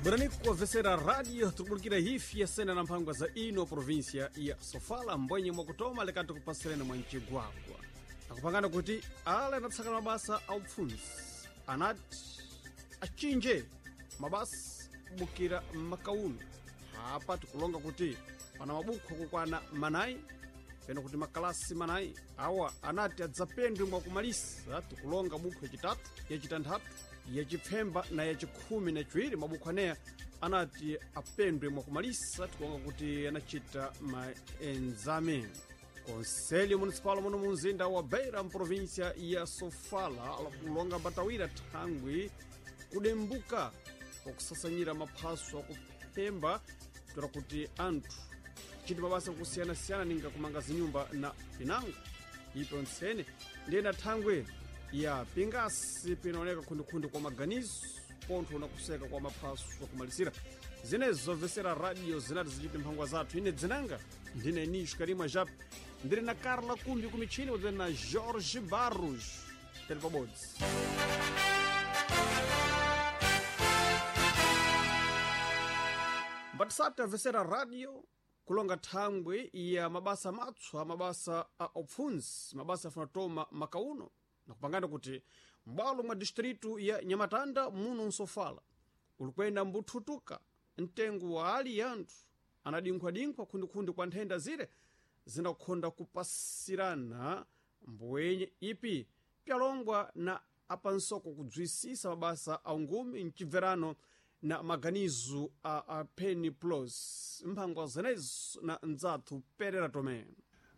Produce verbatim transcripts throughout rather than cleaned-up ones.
Burani kuwavesera radio tukubulikira hifi yasena na mphangwa za ino província ya Sofala mbwenye mwakutoma lekati kupasirena mwa mcigwagwa akupangana kuti ale anatsakana mabasa a upfunzi anati achinje mabasa kubukira m'makauno apa tikulonga kuti pana mabukho kukwana manayi pena kuti makalasi manayi awa anati adzapendwe mwakumalisa tikulonga bukho yacitatu yacitanthatu yacipfemba na yacikhumi na ciwiri mabukho aneya anati apendwe mwakumalisa tikulonga kuti anacita maenzame konselho municipal muno munzinda wa beira mprovíncia ya sofala alakulonga mbatawira thangwi kudembuka kwakusasanyira maphaso akuphemba kutora kuti anthu chiti mabasa akusiyana-siyana ninga kumanga zinyumba na pinango ipo ntsene ndiyena thangwi ya pingasi pinaoneka khundikhundi kwa maganizo pontho na kuseka kwa maphaso akumalisira zinezo zomvesera radio zinati zichite mphangwa zathu ine dzinanga ndine nisho karimwa jap ndiri na carla kumbi kumichini kudzene na jorge barros tele pabodzi mbatisati amvesera radio kulonga thangwi ya mabasa matswa mabasa a upfunzi mabasa afuna toma makauno nakupangana kuti m'bwalo mwa distritu ya nyamatanda muno nsofala ulikwenda mbuthutuka mtengo wa ali yanthu anadinkhwadinkhwa khundikhundi kwa nthenda zire zinakhonda kupasirana mbwenye ipi pyalongwa na apansoko kudzwisisa mabasa a ungumi mcibverano na maganizo a, a penny plus mphangwa zenezo na ndzathu perera tomé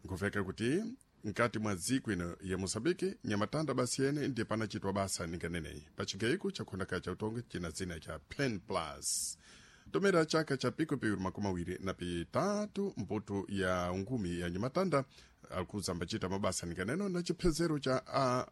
nkuveka kuti mkati mwa dziko ino ya moçambique nyamatanda basi yene ndiye panachitwa basa ninganeneyi pacigayiko chakhondakhala cha utongi china dzina cha pen plus tomera chaka cha pico piwiri makumi awiri na pitatu mputu ya ungumi ya nyamatanda akuza ambacita mabasa ninganeno na chiphezero cha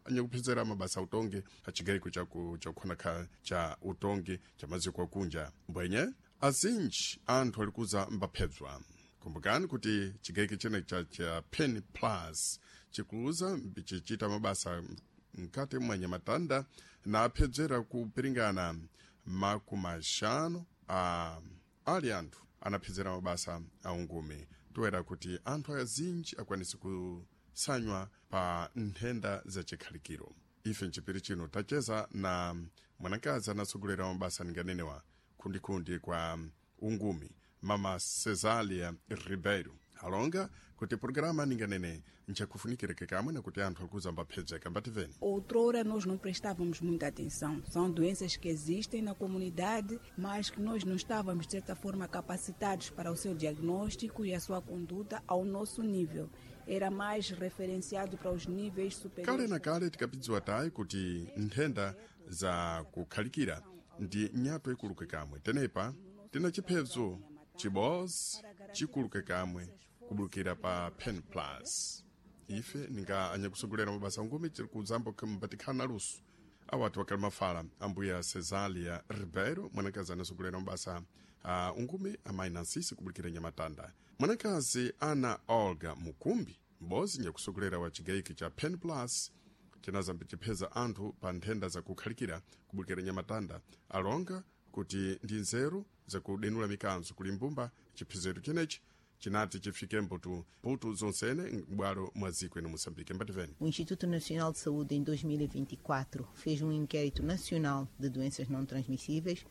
anyakuphezera mabasa utongi acigayiko chakukhonakhala cha utongi cha maziko akunja mbwenye azinji anthu alikuza mbaphedzwa kumbukani kuti chigayiko chene cha, cha pen plus chikuluza chichita mabasa mkati mwa nyamatanda na aphedzera kupiringana makumi axanu a ali anthu anaphedzera mabasa a ungumi toera kuti anthu azinji akwanise kusanywa pa nthenda zachikhalikiro ife mchipiri chino tacheza na mwanakazi anatsogolera mabasa ninganenewa khundikhundi kwa ungumi mama cesalia ribeiro alonga kuti programa ninganene nchakufunikireke kamwe nakuti anthu alikuza mbaphedzeka mbativeni Outrora nós não prestávamos muita atenção. São doenças que existem na comunidade, mas que nós não estávamos, de certa forma, capacitados para o seu diagnóstico e a sua conduta ao nosso nível. Era mais referenciado para os níveis superiores. kale na kale tikapidziwa tayi kuti nthenda za kukhalikira ndi nyato ikuluke kamwe tenepa tina chiphedzo chibozi chikuluke kamwe kubulukira pa pen plus ife ninga anyakusogolera mabasa ungumi tiri kuzambo mbatikhala na luso awati wakali mafala ambuya cesalia ribeiro mwanakazi anasogolera mabasa a ungumi amayi nansisi kubulukira nyamatanda mwanakazi ana olga mukumbi m'bozi nyakusogolera wa chigayiki cha pen plus chinazambi chipheza anthu pa nthenda zakukhalikira kubulukira nyamatanda alonga kuti ndi nzeru zakudenula mikanzo kuli mbumba chiphezero chenechi chinati chifike mbutu mputu zonsene m'bwalo mwa dziko ino moçambique mbativeni O Instituto Nacional de Saúde, em dois mil e vinte e quatro, fez um inquérito nacional de doenças não transmissíveis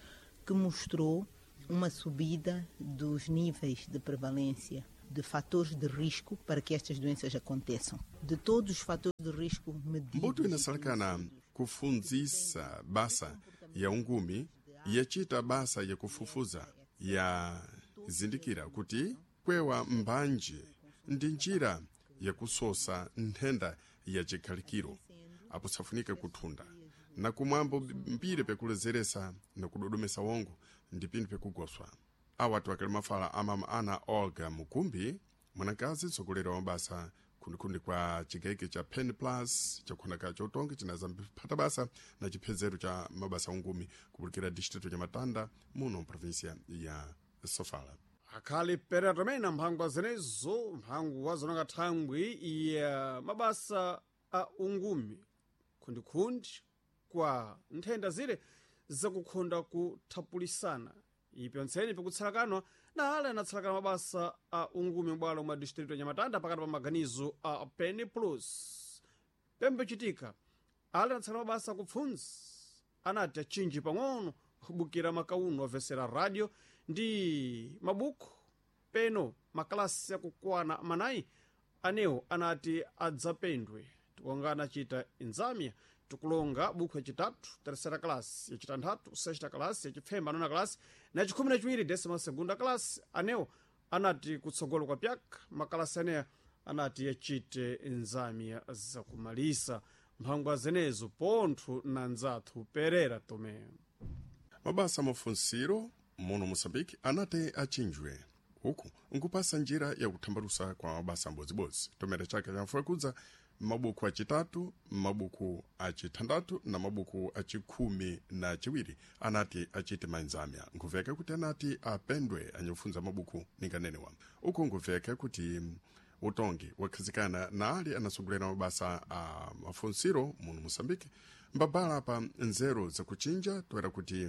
que mostrou uma subida dos níveis de prevalência de fatores de risco para que estas doenças aconteçam. De todos os fatores de risco medidos... mbuto inasalakana kufundzisa basa ya ungumi yachita basa yakufufuza yazindikira kuti kwewa mbanje ndi njira yakusosa nthenda ya chikhalikiro apo safunika kuthunda na kumwambo mbiri pekulezeresa na kudodomesa wongo ndi pinthu pekugoswa awati wakali mafala amama ana olga mukumbi mwanakazi mtsogoleri wa mabasa khundikhundi kwa chigayiko cha pen plus chakukhonaka chautongi chinazamphata basa na chiphezero cha mabasa ungumi kubulikira distrito cha matanda muno mprovinsia ya sofala akhali perera tomé na mphangwa zenezo mphangwa zononga thangwi ya mabasa a ungumi khundikhundi kwa nthenda zire zakukhonda kuthapulisana Ipyontseni pikutsalakana na ale anatsalakana mabasa a ungumi m'bwalo mwa distrito ya Nyamatanda pakati pa maganizo a Pen Plus. Pembe chitika ale anatsalakana mabasa kupfunzi anati achinji pang'ono kubukira makauno avesera radio ndi mabuku peno makalasi akukwana manayi anewo anati adzapendwe. Tikonga anachita inzamia tikulonga buku yacitatu terceira classe, yacitanthatu sexta classe, yacipfemba nona classe na yacikhumi na ciwiri décima segunda classe. Anewo anati kutsogolo kwa pyaka makalasi aneya anati yacite nzamia zakumalisa mphangwa zenezo pontho na nzathu Perera Tomé. Mabasa mafunsiro muno Moçambique anati achinjwe uku nkupasa njira yakuthambalusa kwa mabasa ambodzibodzi tomera chaka chamfukudza mabuku acitatu, mabuku acithandathu na mabuku acikhumi na ciwiri anati acite mainzamya. Nkuveka kuti anati apendwe anyakufunza mabuku ninganenewa. Uku nkuveka kuti utongi wakhazikana na ali anasogolera mabasa a mafunsiro muno Moçambique mbabala pa nzeru zakuchinja toera kuti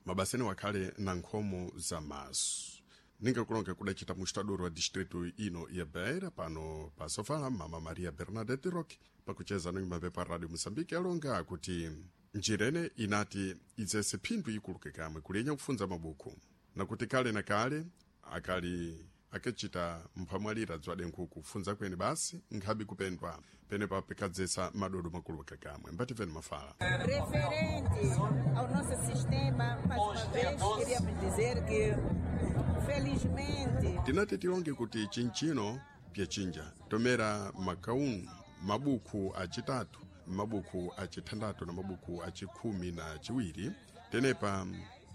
mabasa ene wakhale na nkhomo za maso. Ningakulonga kudacita mustadoro wa distrito ino ya Beira pano pa Sofala, mama Maria Bernadette Roque pakucheza no mapepa Radio Moçambique alonga kuti njirene inati idzese phindu ikuluke kamwe kulenya kufunza mabuku nakuti kale na kale akali akachita mphamwalira dzwade nkhuku kufunza kweni basi nkhabi kupendwa penepa pikadzesa madodo makulu kakamwe mbativeni mafala. Referente ao nosso sistema, mais uma vez queríamos dizer que felizmente tinati tilonge kuti chinchino pyachinja tomera makaunu mabuku acitatu, mabuku acithandathu na mabuku acikhumi na ciwiri tenepa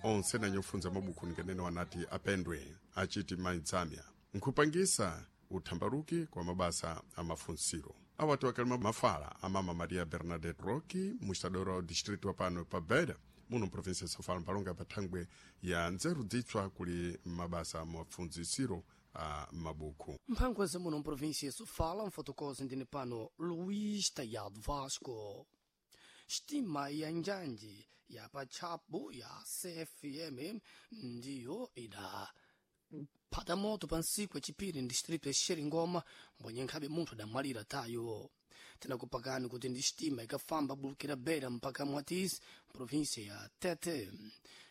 onse nanyofunza mabuku ninganene wanati apendwe achiti mainzamya nkhupangisa uthambaluki kwa mabasa a mafunsiro. Awatu akalima mafala a mama Maria Bernadette Roque mustadora wa distrito pano pa Beira muno província ya Sofala mpalonga pa thangwe ya nzeru dzitswa kuli mabasa mafunzisiro a mabuku. Mphangwa za muno mprovíncia ya Sofala, mfotokozi ndine pano Luís Tayado Vasco. Xtima ya njanji ya pachabu ya C F M ndiyo ida phata moto pa ntsiku yacipiri ndistrito ya Xeringoma mbwenye nkhabe munthu adamwalira tayo. Tinakupakani kuti ndi xitima ikafamba bulukira Beira mpaka Mwatisi província ya Tete.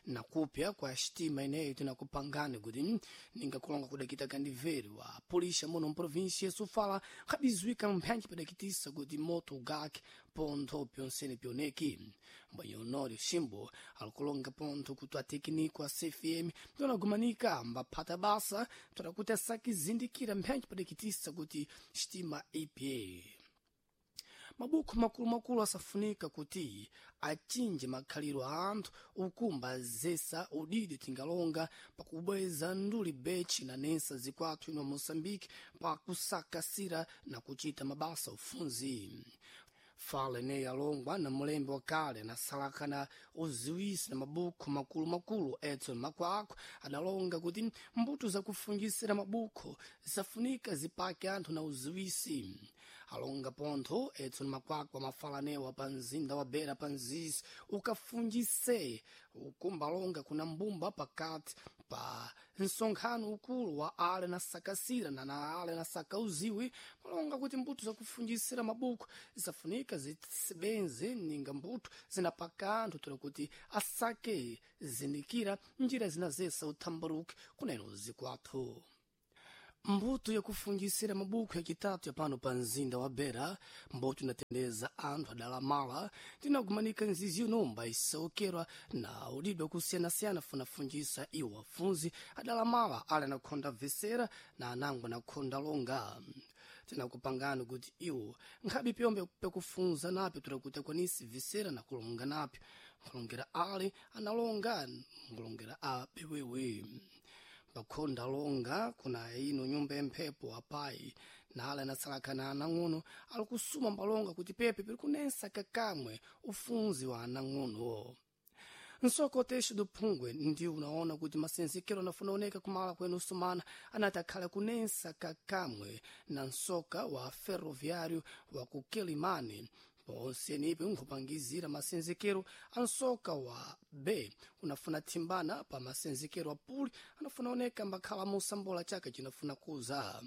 Nakupya kwa xitima ineyo tinakupangani kuti ningakulonga kudakita kandiveri wa polícia muno mprovíncia ya Sofala nkhabizwika mphanji padakitisa kuti moto ugake pontho pyonsene pyoneki. Mbwenye Honório Ximbo alikulonga pontho kuti atekniko a C F M tonagumanika mbaphata basa toda kuti asakizindikira mphanji padakitisa kuti xitima ipye. Mabuku makulumakulu asafunika kuti achinje makhaliro a anthu ukumba zesa udidi tingalonga pakubweza nduli bechi na nensa zikwathu ino Moçambique pakusakasira na kuchita mabasa ufunzi. Fala ineyi alongwa na mulembe wa kale anasalakana uziwisi na mabuku makulumakulu Edson Makwakwa adalonga kuti mbuto zakufungisira mabuku zisafunika zipake anthu na uziwisi. Alonga pontho Edson Makwakwa mafala anewa pa mzinda wa Beira pa mzizi ukafungise ukumbalonga kuna mbumba pakati pa nsonkhano ukulu wa ale na sakasira na na ale na sakauziwi malonga kuti mbuto zakufungisira mabuku zisafunika zisebenze ninga mbuto zinapaka anthu tola kuti asake zindikira njira zinazesa uthambaruke kuneno zikwathu. Mbuto yakufungisira mabuku yacitatu yapano pa mzinda wa Beira mbuto inatendeza anthu adalamala tinagumanika nzizi yomba isaukerwa na udidwa kusiyanasiyana funafungisa iwo afunzi adalamala ali anakhonda vesera na anango anakhonda longa. Tinakupangani kuti iwo nkhabe pyombe pekufunza napyo toda kuti akwanisi vesera na kulonga napyo nkulongera ali analonga nkulongera a bewewe. Pakhonda longa kuna ino nyumba yemphepo apayi nala anasalakana anang'ono ali kusuma mbalonga kuti pepe piri kunensa kakamwe ufunzi wa anang'ono. Nsoko texo do phungwe ndi unaona kuti masenzekero anafuna oneka kumala kwenu sumana anati akhala kunensa kakamwe na nsoka wa ferroviário wa ku Quelimane Ponsenipi nkhupangizira masenzekero a nsoka wa B unafuna thimbana pa masenzekero a puli anafuna oneka mbakhala musambola chaka chinafuna kuza.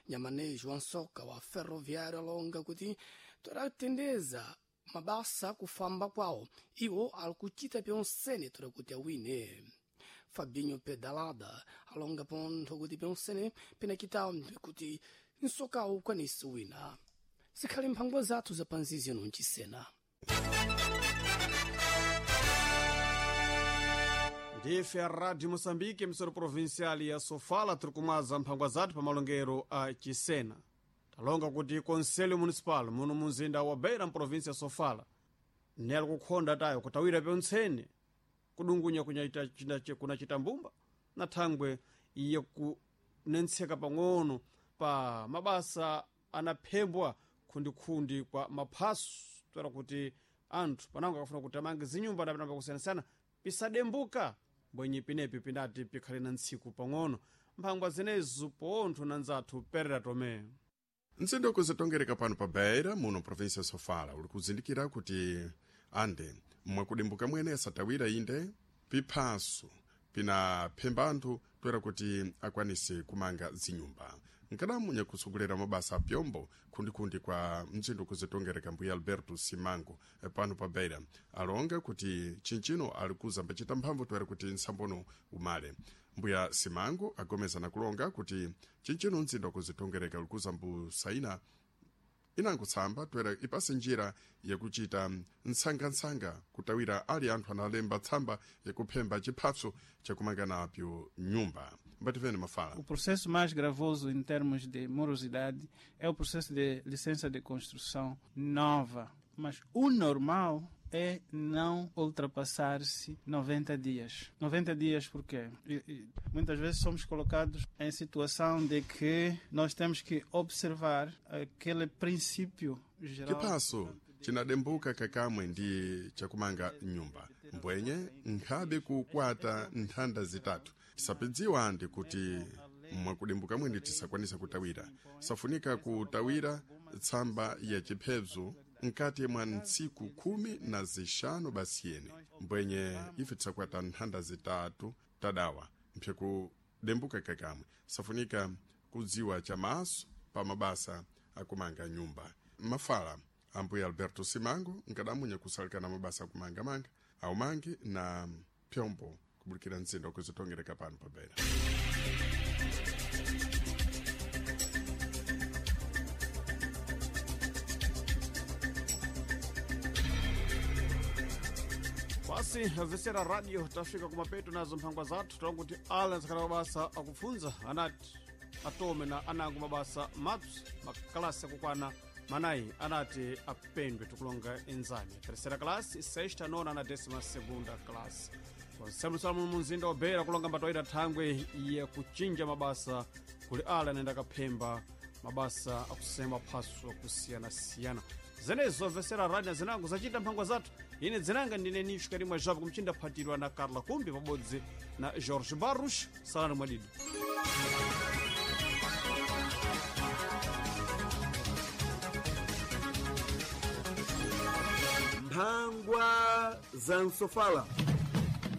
Nyamanejo wa nsoka wa ferroviário alonga kuti todatendeza mabasa kufamba kwawo iwo ali kuchita pyonsene toda kuti awine. Fabinho Pedalada alonga pontho kuti pyonsene pinakitawo kuti nsokawo ukwanise wina. Zikhali mphangwa zathu zapanzizi nuncisena. Ndife a Rádio Moçambique, emissora provincial ya Sofala, tiri kumwaza mphangwa zathu pa malongero a Chisena. Talonga kuti Conselho Municipal muno munzinda wa Beira mprovinsia ya Sofala nelo kukhonda tayo kutawira pyontsene kudungunya kunyaita china- kunachita mbumba na thangwe iye kunentseka pang'ono pa mabasa anaphembwa khundikhundi kwa maphaso toera kuti anthu panango akafuna kuti amange zinyumba na pinamba kusiyanasiyana pisadembuka mbwenye pinepi pinati pikhale na ntsiku pang'ono. Mphangwa zenezo pontho na nzathu Perera Tomé. Mzinda ukuzitongereka pano pa Beira muno província ya Sofala uli kuzindikira kuti ande mwakudimbuka mwene asatawira inde piphaso pinaphemba anthu toera kuti akwanise kumanga zinyumba. Nkadamu nyakusogolera mabasa apyombo khundikhundi kwa mzinda ukuzitongereka mbuya Alberto Simango eh, pano pa Beira alonga kuti chinchino ali kuzambacita mphamvu toera kuti nsambono umale. Mbuya Simango agomeza na kulonga kuti chinchino mzinda ukuzitongereka uli kuzambusaina inangotsamba toera ipase njira yakuchita nsangansanga kutawira ali anthu analemba tsamba yakuphemba chiphatso chakumanga napyo nyumba. Mbativene mafala. O processo mais gravoso em termos de morosidade é o processo de licença de construção nova. Mas o normal é não ultrapassar-se noventa dias. noventa dias porquê? E, e, muitas vezes somos colocados em situação de que nós temos que observar aquele princípio geral. Chiphaso chinadembuka kakamwe ndi chakumanga nyumba mbwenye nkhabe kukwata nthanda zitatu tisapidziwa ndi kuti mwakudimbuka mwene tisakwanisa kutawira. Safunika kutawira tsamba ya chiphezo mkati mwa ntsiku khumi na zixanu basiyene mbwenye ife tisakwata nthanda zitatu tadawa mphyakudembuka kakamwe. Safunika kudziwa chamaso pa mabasa akumanga nyumba. Mafala ambuya Alberto Simango nkadamunya kusalikana mabasa akumangamanga aumangi na pyombo kubulikira mzinda ukuzitongereka pano pa Beira. Basi vesera radio tafika kumapeto nazo mphangwa zathu talonga kuti ala ntsakhala mabasa akupfunza anati atome na anango mabasa mapsi makalasi akukwana manayi anati apendwe tikulonga enzani terceira classe, sexta, nona na décima segunda classe. Konsemulisala muno munzinda wa Beira kulonga mbatoita thangwe ya kuchinja mabasa kuli ala anayenda kaphemba mabasa akusema phaso akusiyana-siyana. Zenezo vesera radio na zinango zacita mphangwa zathu. Ine dzinanga ndine Nisho Karimwa Japo kumchinda phatirwa na Carla Kumbi pabodzi na Jorge Barros. Salani mwadidi. Mphangwa za Nsofala.